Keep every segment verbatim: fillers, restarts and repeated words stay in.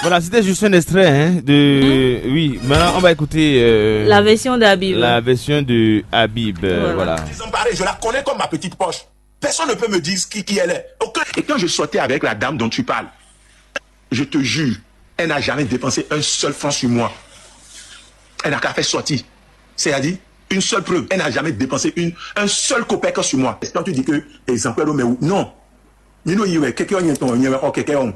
Voilà, c'était juste un extrait, hein, de... Oui, maintenant, on va écouter, euh, la version d'Habib. La version de Habib, euh, voilà. Désemparée, je la connais comme ma petite poche. Personne ne peut me dire qui, qui elle est. Aucun. Et quand je sortais avec la dame dont tu parles, je te jure, elle n'a jamais dépensé un seul franc sur moi. Elle n'a qu'à faire sortir. C'est-à-dire, une seule preuve, elle n'a jamais dépensé une, un seul kopek sur moi. Quand tu dis que les emplois, mais non. Mi ɖo yi wɛ kɛkɛ ɔ́ nyɛ tɔn nyɛ wɛ xɔ kɛkɛ ɔ́.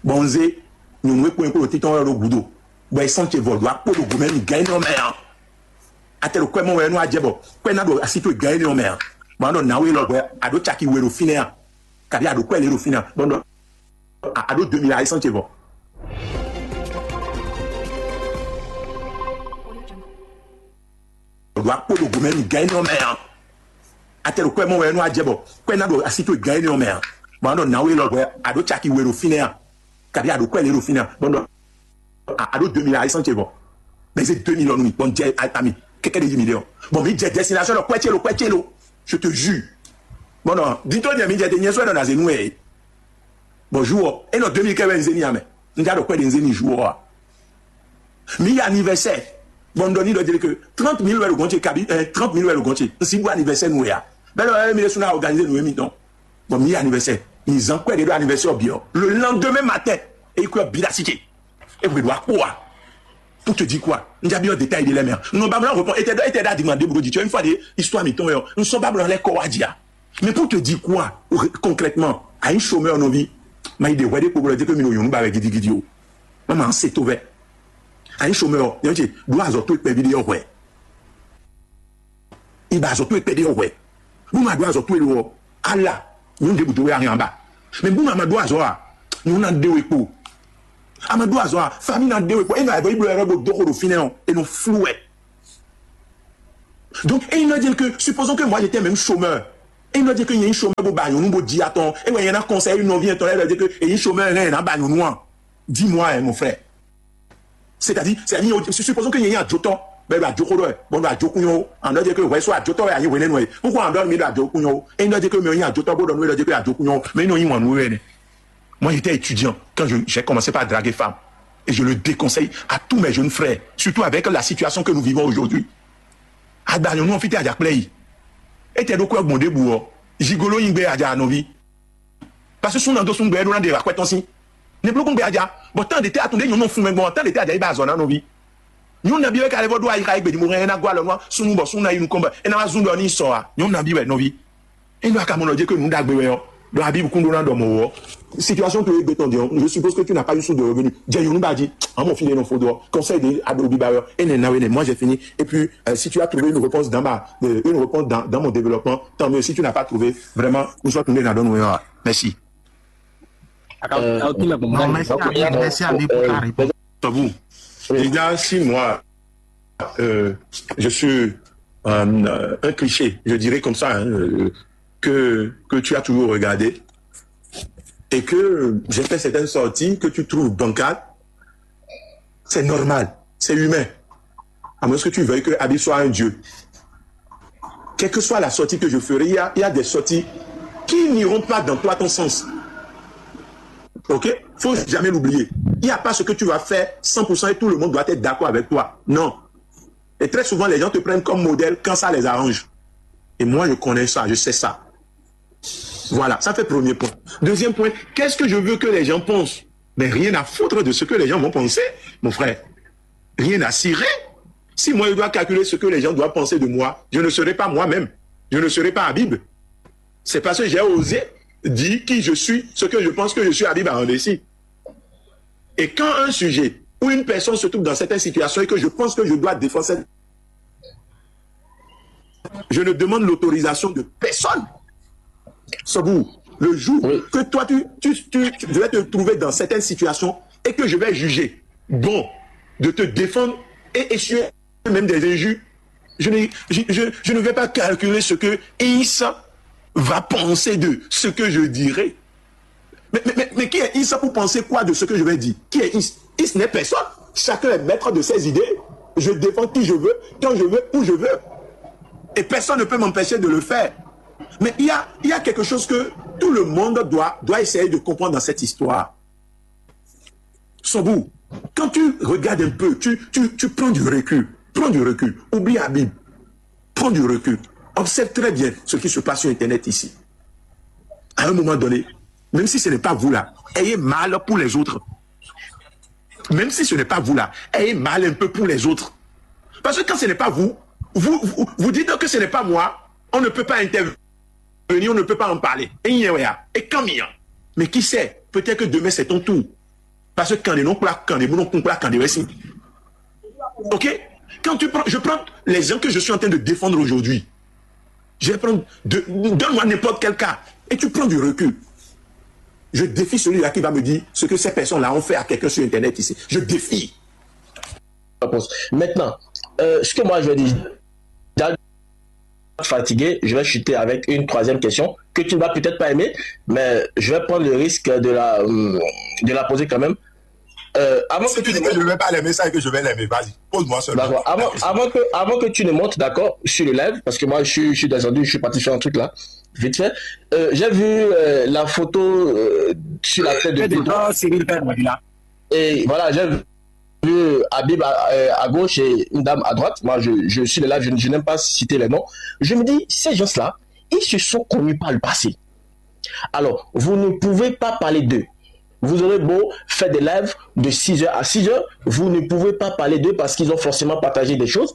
Bɔn un zé nyɔ̌nu e kpɔ́n nyɛ kpó ɖo títɔn wɛ ɖo gǔdo, bɔ è sɔ́n ce vɔ ɖo akpó ɖo gǔmɛ mi gǎn énɛ́ ɔ́ mɛ ǎ. Atɛ ɖo kwɛ mɔ wɛ nú a jɛ bɔ kwɛ ná ɖo así towe gǎn énɛ́ ɔ́ mɛ ǎ. Bɔ a nɔ nǎwe lɔ hwɛ, a ɖǒ caki we ɖo fínɛ́ a? Kabí a ɖǒ kwɛ lě ɖo fínɛ́ a? Bɔ un ɖɔ a ɖǒ deux mille a, è sɔ́n ce vɔ. Ɖo akpó ɖo gomɛ mi gǎn énɛ́ ɔ́ mɛ ǎ. Atɛ ɖo kwɛ mɔ wɛ nú a jɛ bɔ kwɛ ná ɖo así towe gǎn énɛ́ ɔ́ mɛ ǎ. Bɔ a nɔ nǎwe lɔ hwɛ, a ɖǒ caki we ɖo fínɛ́ a? Kabí a ɖǒ kwɛ lě ɖo fínɛ́ a? Bɔ un ɖɔ a ɖǒ deux mille a, è sɔ́n ce vɔ. Mɛ zé deux mille ɔ́ nú mi, bɔ un jɛ ami kɛkɛ ɖe yí mi ɖe ɔ́. Bɔ mi jɛ destination ɖɔ kwɛ ce lo, kwɛ ce lo. Je te jure. Bɔn nɔ dito nyɛ mi jɛ te nyɛ sɔ ɖɔ na zé nú ɛ. Bɔn jour ɔ́, e nɔ deux mille kɛ wɛ un zé n'i ǎ mɛ. Un já ɖo kwɛ ɖe un zé n'i jour ɔ́ ǎ. Mi yi anniversaire. Bɔn un ɖɔ n'i ɖɔ jeli ke trente mille wɛ ɖo gɔn ce kabi ɛ trente mille wɛ ɖo gɔn ce. Un si bu anniversaire nú ɛ ǎ. Bɛlɛ ɛ mi ɖésú ná organiser nǔ émítɔn. Bɔn mi yi anniversaire. Mi zan kwɛ ɖe ɖo anniversaire ɔ́ bǐ ɔ́. Le lendemain matin, e yi kwɛ ɔ́ bǐ ɖo así ce. E hwe ɖo akpó ǎ. Pour te dire quoi? Un já byɔ́ détail ɖé lɛ́ɛ mɛ ǎ. Un nɔ ba mlá répond. Etɛ ɖɔ etɛ ɖo adigban ɖěbǔ ɖó jǐ. Tu vois, une fois ɖé, histoire mǐtɔn wɛ ɔ́, un sɔ́ ba blɔ lɛ́ kɔ wá jǐ ǎ. Mais pour te dire quoi, concrètement, à un chômeur nɔví, ma yi ɖe hwɛ ɖé kpo bɔ lɔ dé ke mi ɖo nyɔ̌nu ba wɛ gidigidi o. Ma ma se to vɛ. À un chômeur, nyɔ̌nu ce ɖó azɔ̌ towe kpɛví ɖé ɔ́ hwɛ. Yi ba azɔ̌ towe kpɛví ɔ́ hwɛ. Bó ma ɖó azɔ̌ towe lo ɔ́, ala nyɔ̌nu ɖěbǔ dó wɛ a hɛn ǎ ba. Mais bó ma ma ɖó azɔ̌ a, nyɔ̌nu ná ɖe we kpo. A ma ɖó azɔ̌ a, famille ná ɖe we kpo. E nɔ ayǐ bɔ yi bló yɛ ɖɔ bó dó xo ɖo fínɛ́ ɔ́, e nɔ flú wɛ. Donc, e nɔ dire que, supposons que moi j'étais même chômeur. E nɔ dire que nyɛ nyí chômeur bó ba nyɔ̌nu bó jí atɔn. E wɛ nyɛ ná conseil nɔví etɔn lɛ́ɛ ɖɔ dire que e nyí chômeur hɛn ná ba nyɔ̌nu a. Dis-moi, hein, mon frère. C'est-à-dire, c'est-à-dire, supposons que nyɛ nyí ajotɔ, bɛ ɖo ajoxo ɖɔ ɛ, bɔn ɖo ajokun yɔ o, an dɔ jɛ ke wɛ so ajotɔ wɛ anyi hwenɛnu ɛ, pourquoi an dɔ mi ɖo ajokun yɔ o? E nɔ jɛ ke mi nyí ajotɔ bó ɖɔ nu e dɔ jɛ ke ajokun yɔ o, mais nɔ nyí wanu wɛ nɛ. Moi, j'étais étudiant quand je, j'ai commencé par draguer femme. Et je le déconseille à tous mes jeunes frères, surtout avec la situation que nous vivons aujourd'hui. Agba nyɔnu ɔ́ fítɛ́ ajakplɛ́ yi. Etɛ ɖokú ɛ gbɔn ɖěbǔ ɔ́, jigolo nyi gbé aja nɔví. Parce que súnnu ná dó súnnu gbɛ é ɖó ná ɖe akwɛ́ tɔn sín. Nɛblókún gbɛ aja, bɔ tán ɖě tɛ́ atún ɖě nyɔ̌nu fún mɛ gbɔn tán ɖě tɛ́ aja yi ba azɔ̌ ná nɔví. Nyɔ̌nu nabí wɛ ka lɛ́ vɔ ɖó ayixa e gbědímɔ hɛn ɛ ná gɔ́ alɔ nú súnnu bɔ súnnu ná yi nukɔn bɔ é ná wá zún ɖɔ ní sɔ a? Nyɔ̌nu nabí wɛ nɔví. Ényí wɛ a ka mɔ nɔ jɛ kó nǔ ɖagbe wɛ ɔ́, ɖɔ abí kún ɖó ná ɖɔ mɔ̌ ɔ́. Situation to e gbé tɔn din ɔ́, je suppose que tu n'as pas eu source de revenu. Jɛ nyɔ̌nu ba jí, amɔ fi ɖe nɔ fo dɔ, conseil de aɖo biba wɛ ɔ́, enɛ na wɛ nɛ, moi j'ai fini. Et puis, euh, si tu as trouvé une réponse dans ma, euh, une réponse dans, dans mon développement, tant mieux. Si tu n'as pas trouvé, vraiment, nous sommes tombés dans le noir. Merci. Non, merci à lui, merci à lui pour la réponse. Tabou. Déjà, si moi, euh, je suis un, un cliché, je dirais comme ça, hein, euh, que, que tu as toujours regardé et que j'ai fait certaines sorties que tu trouves bancales, c'est normal, c'est humain. À moins que tu veuilles que Habib soit un dieu. Quelle que soit la sortie que je ferai, il y a, il y a des sorties qui n'iront pas dans toi, ton sens. Ok? Faut jamais l'oublier. Il n'y a pas ce que tu vas faire cent pour cent et tout le monde doit être d'accord avec toi. Non. Et très souvent, les gens te prennent comme modèle quand ça les arrange. Et moi, je connais ça, je sais ça. Voilà, ça fait premier point. Deuxième point, qu'est-ce que je veux que les gens pensent? Mais rien à foutre de ce que les gens vont penser, mon frère. Rien à cirer. Si moi, je dois calculer ce que les gens doivent penser de moi, je ne serai pas moi-même. Je ne serai pas Habib. C'est parce que j'ai osé dire qui je suis, ce que je pense que je suis Habib à Andessi. Et quand un sujet ou une personne se trouve dans certaines situations et que je pense que je dois défendre cette, je ne demande l'autorisation de personne. Sobu, le jour que toi, tu, tu, tu, tu devais te trouver dans certaines situations et que je vais juger bon de te défendre et essuyer même des injures, je ne, je, je, je ne vais pas calculer ce que Issa va penser de ce que je dirai. Mais, mais, mais, mais qui est Issa pour penser quoi de ce que je vais dire? Qui est Issa? Issa n'est personne. Chacun est maître de ses idées. Je défends qui je veux, quand je veux, où je veux. Et personne ne peut m'empêcher de le faire. Mais il y a, il y a quelque chose que tout le monde doit, doit essayer de comprendre dans cette histoire. Sobu, quand tu regardes un peu, tu, tu, tu prends du recul. Prends du recul. Oublie Habib. Prends du recul. Observe très bien ce qui se passe sur Internet ici. À un moment donné, même si ce n'est pas vous là, ayez mal pour les autres. Même si ce n'est pas vous là, ayez mal un peu pour les autres. Parce que quand ce n'est pas vous, vous, vous, vous dites que ce n'est pas moi, on ne peut pas intervenir, on ne peut pas en parler. Et il y a, et quand il y a. Mais qui sait, peut-être que demain c'est ton tour. Parce que quand les non quand les non quand les récits. Ok. Quand tu prends, je prends les gens que je suis en train de défendre aujourd'hui. Je vais prendre, de- donne-moi n'importe quel cas et tu prends du recul. Je défie celui-là qui va me dire ce que ces personnes-là ont fait à quelqu'un sur Internet ici. Je défie. Maintenant, euh, ce que moi je vais dire, déjà fatigué, je vais chuter avec une troisième question que tu ne vas peut-être pas aimer, mais je vais prendre le risque de la, euh, de la poser quand même. Euh, avant que Si tu dis que je ne vais pas l'aimer, ça et que je vais l'aimer, vas-y, pose-moi seulement. D'accord. Avant, avant, que, avant que tu ne montes, d'accord, sur le live, parce que moi, je suis, je suis descendu, je suis parti faire un truc là, vite fait. Euh, j'ai vu euh, la photo euh, sur la tête de Pedro. Et voilà, j'ai vu Habib à, euh, à gauche et une dame à droite. Moi, je, je suis le live, je, je n'aime pas citer les noms. Je me dis, ces gens-là, ils se sont connus par le passé. Alors, vous ne pouvez pas parler d'eux. Vous aurez beau faire des lives de six heures à six heures, vous ne pouvez pas parler d'eux parce qu'ils ont forcément partagé des choses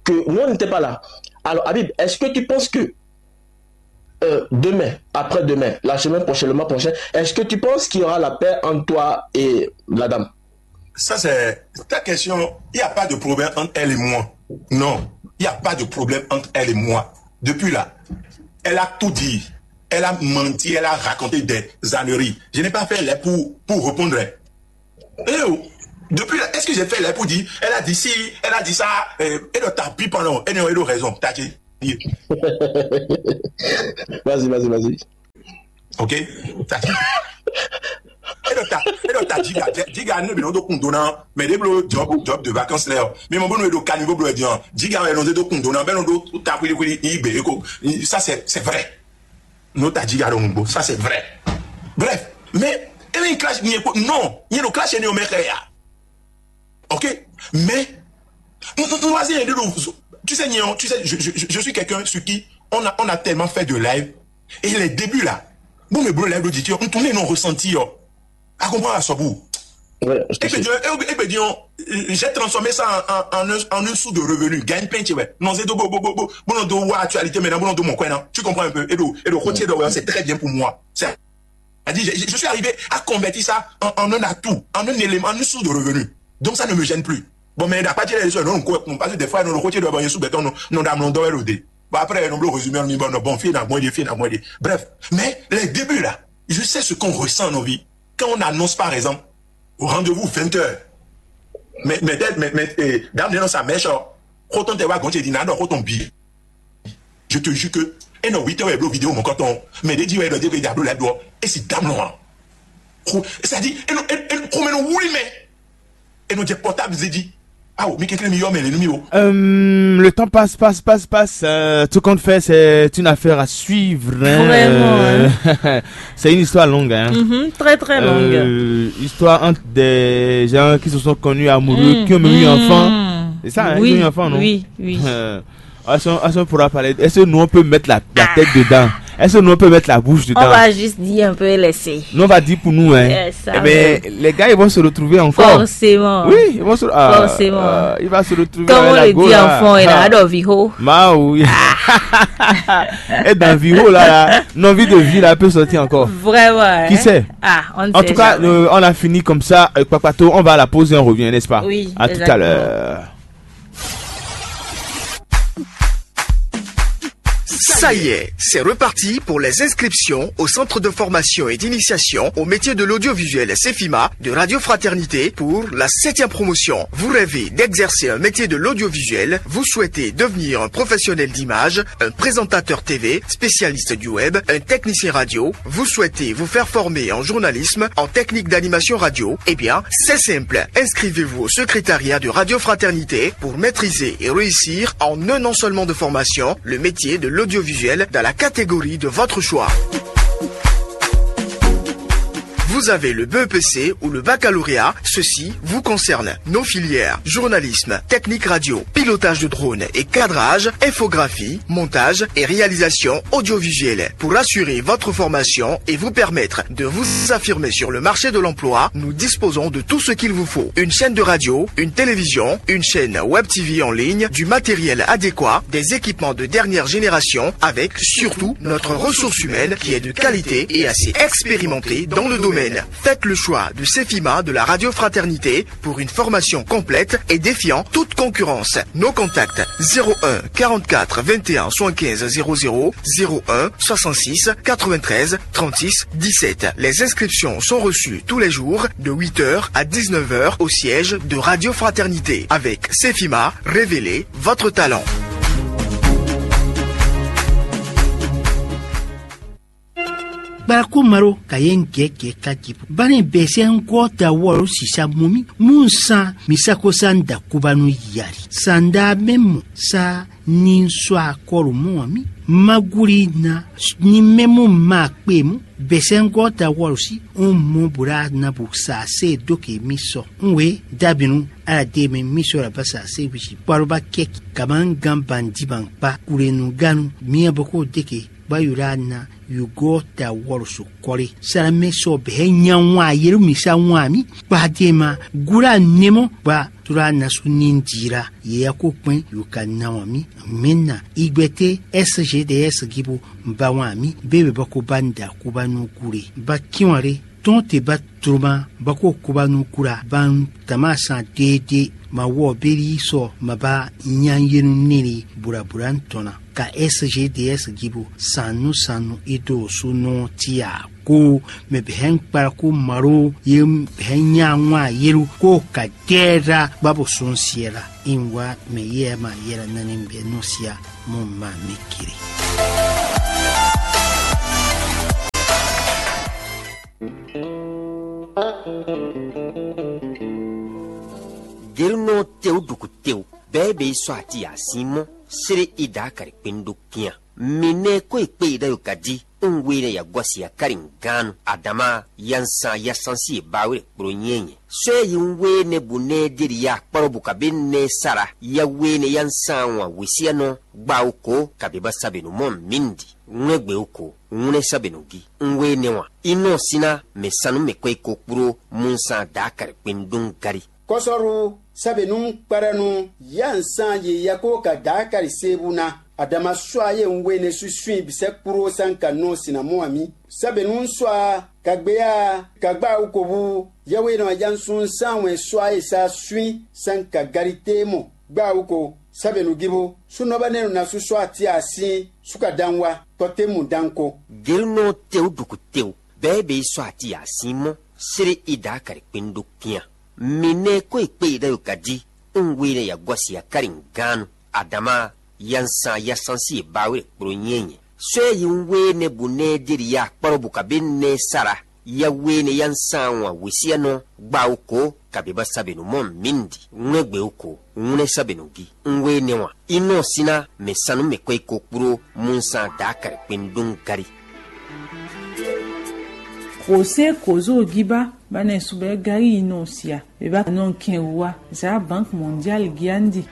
que nous, on n'était pas là. Alors, Habib, est-ce que tu penses que euh, demain, après-demain, la semaine prochaine, le mois prochain, est-ce que tu penses qu'il y aura la paix entre toi et la dame? Ça, c'est ta question. Il n'y a pas de problème entre elle et moi. Non, il n'y a pas de problème entre elle et moi. Depuis là, elle a tout dit. Elle a menti, elle a raconté des âneries. Je n'ai pas fait là pour, pour répondre. Eh oh, depuis là, est-ce que j'ai fait là pour dire, elle a dit si, elle a dit ça, euh, elle a tapé pendant, elle a raison, t'as dit. Vas-y, vas-y, vas-y. Ok? T'as dit. Eɖɔ ta, eɖɔ ta jiga, jiga ne bi nɔ do kun do na, mais ɖe blo job, job de vacances lɛ ɔ, mi mɔ bónú eɖo caniveau blo ɛdian, jiga wɛ nɔ do kun do na, bɛ nɔ do ta kwili kwili, yi gbe eko, ça c'est, c'est vrai. No ta jiga ɖo nugbo, ça c'est vrai. Bref, mais emi clash ni eko, non, ni ɖo clash ni o mɛ xɛ ya. Ok? Mais, on, on, on va dire, tu sais, Nian, tu sais, je, je, je suis quelqu'un sur qui on a, on a tellement fait de live. Et les débuts là, bon, mais bon, live, tu on tourne, on ressentir. À comprendre à Sobu. Ouais, je te Et puis, suis. et puis, et puis, disons, j'ai transformé ça en, en, en, un, en une source de revenus. Gagne plein, tu vois. Non, c'est de bo, bo, bo, bo, bon, on doit voir actualité maintenant, bon, on doit mon coin, non. Tu comprends un peu? Et donc, et donc, côté de, c'est très bien pour moi. C'est-à-dire, je, je suis arrivé à convertir ça en, en un atout, en un élément, en une source de revenus. Donc, ça ne me gêne plus. Bon, mais à partir de ça, non, quoi, parce que des fois, non, le côté de, bon, il y a sous béton, non, non, dame, non, doit le dé. Bon, après, non, le résumé, non, bon, non, bon, fina, bon, il est fina, bon, il est. Bref, mais les débuts là, je sais ce qu'on ressent en nos vies. Quand on annonce, par exemple, au rendez-vous vingt heures, mais, mais, mais, mais, eh, dame, non, ça mèche, oh. Autant te voir quand tu dis, non, non, autant bi. Je te jure que, et non, huit heures, et vidéo, mon coton, mais des dieux, et le diable, la doit, et c'est dame, non. C'est-à-dire, et non, et, et, comme nous, oui, mais, et nous, j'ai portable, j'ai dit, ah, oh, mais quelqu'un, mais, mais, mais, oh. Euh, le temps passe, passe, passe, passe. Euh, tout compte fait, c'est une affaire à suivre, hein. Vraiment, Euh, c'est une histoire longue, hein. Mhm, très, très longue. Euh, histoire entre des gens qui se sont connus amoureux, Mm, qui ont même eu mm. Enfant. C'est ça, hein, Oui, ils ont eu enfant, non? Oui, oui. Euh, est-ce qu'on, est-ce qu'on pourra parler? Est-ce que nous, on peut mettre la, la tête dedans? Est-ce que nous, on peut mettre la bouche On dedans? Va juste dire un peu, laisser. Nous, on va dire pour nous, hein. Eh, ça, Eh ben, ouais. Les gars, ils vont se retrouver encore. Forcément. Oui, ils vont se, ah, Forcément. Euh, il va se retrouver Comme avec on la le go, dit là. en fond, il Ah. a adoré Viho. Ma oui. Et dans Viho, là, là, l'envie de vie, là, peut sortir encore. Vraiment. Qui Hein? Sait? Ah, on ne En sait tout cas, jamais. Euh, on a fini comme ça. Euh, Kpakpato, on va à la pause et on revient, n'est-ce pas? Oui, À tout à exactement. L'heure. Ça y est, c'est reparti pour les inscriptions au Centre de formation et d'initiation au métier de l'audiovisuel Cefima de Radio Fraternité pour la septième promotion. Vous rêvez d'exercer un métier de l'audiovisuel, vous souhaitez devenir un professionnel d'image, un présentateur T V, spécialiste du web, un technicien radio, vous souhaitez vous faire former en journalisme, en technique d'animation radio, eh bien, c'est simple. Inscrivez-vous au secrétariat de Radio Fraternité pour maîtriser et réussir en un an seulement de formation le métier de l'audiovisuel dans la catégorie de votre choix. Vous avez le B E P C ou le baccalauréat, ceci vous concerne. Nos filières, journalisme, technique radio, pilotage de drone et cadrage, infographie, montage et réalisation audiovisuelle. Pour assurer votre formation et vous permettre de vous affirmer sur le marché de l'emploi, nous disposons de tout ce qu'il vous faut. Une chaîne de radio, une télévision, une chaîne web T V en ligne, du matériel adéquat, des équipements de dernière génération, avec surtout notre ressource humaine qui est de qualité et assez expérimentée dans le domaine. Faites le choix de Cefima de la Radio Fraternité pour une formation complète et défiant toute concurrence. Nos contacts: zéro un quarante-quatre vingt et un soixante-quinze zéro zéro, zéro un soixante-six quatre-vingt-treize trente-six dix-sept. Les inscriptions sont reçues tous les jours de huit heures à dix-neuf heures au siège de Radio Fraternité. Avec Cefima, révélez votre talent. Kpalaku malo ka yɛn gɛgɛ ka jibu. Bani bɛsɛ ŋgɔ ta wɔlo sisa mumi. Mun san mi sako san da kuba nu yari. Sanda mɛ mo sa ni sɔ akɔlu mɔ mi. Maguli na ni mɛ mo ma kpe mu. Bɛsɛ ŋgɔ ta wɔlo si. Un mɔ bula na bu sa se do ke mi sɔ. Un we dabinu ala de mi mi sɔ la ba sa se wisi. Kpalo ba kɛ kama gan bandi ban kpa. Kulenu ganu. Mi aboko de ke. Ba yula na yugo ta wɔlu so kɔli. Salamɛ sɔ bɛ nya wan yelu mi sa wan mi. Kpa de ma gula nemo ba tura nasu ni dira. Ye ya ko kpɛn yu ka na wan mi. Mɛ na igbɛte S G D S gibo ba wan mi. Bebe bako ba nda kuba nu gule. Ba kiwan re. Tɔn te ba troma ba ko kuba nu kula. Ban tama san dede. Ma wɔ beli sɔ ma ba nya yenu nili. Bula bula ntɔna. Ka S G D S gibo sanu sanu ido su nɔ tia ko. Mɛ bɛ hɛn kpala ko malo ye hɛn nya ŋwa yelu ko ka dɛra babo sɔn siela. In wa mɛ ye ma yela nani bɛ nɔ sia mo ma mi kiri. Gelunɔ tewu duku tewu bɛɛ bɛ yi sɔ ati asin mɔ sere ida kari kpendo kian. Mine ko ikpe ida yo kadi. Un we ne ya gwasi ya kari nganu adama ya nsan ya sansi e ba we kpro nyenye. So e yi un we ne bu ne deli ya kparo bu kabe ne sara ya we ne ya nsan wan wisiya nɔ gba o ko kabe ba sabe no mɔ mindi. Ŋlɛgbe o ko ŋlɛ sabe no gi. Un we ne wan inɔ sina mɛ sanu mɛ kɔ iko kpro mun san da kari kpendun gari. Kɔsɔru sabe nu kpara nu ya nsan ye ya ko ka da kari sebu na. Adama swa ye un we ne susui bisɛ kpro san ka nɔ sina mɔ ami. Sabe nu swa ka gbe ya ka gba uko bu Yɛhwe nɔ ajansun san wɛn swa e sa swin san ka gari te mɔ gba uko. Sabe nu gibo sunɔ ba ne na su swa ti asin suka dan wa kɔte mu dan ko. Gelunɔ tewu duku tewu bɛɛ bɛ yi sɔ ati asin mɔ sere ida kari kpendo kian. Mi ne ko ikpe ida yo kadi un we ne ya gwasi ya kari nganu adama ya nsan ya sansi e ba we kpro nyenye. So e yi un we ne bu ne deli ya kparo bu kabe ne sara ya we ne ya nsan wan wisiya nɔ gba o ko kabe ba sabe no mɔ mindi. Ŋlɛgbe o ko ŋlɛ sabe no gi. Un we ne wan inɔ sina mɛ sanu mɛ kɔ iko kpro mun san da kari kpendun gari. Kose kozo giba bane subɛ gari inɔ sia. Beba nɔ kɛn wa za Banque Mondiale giandi.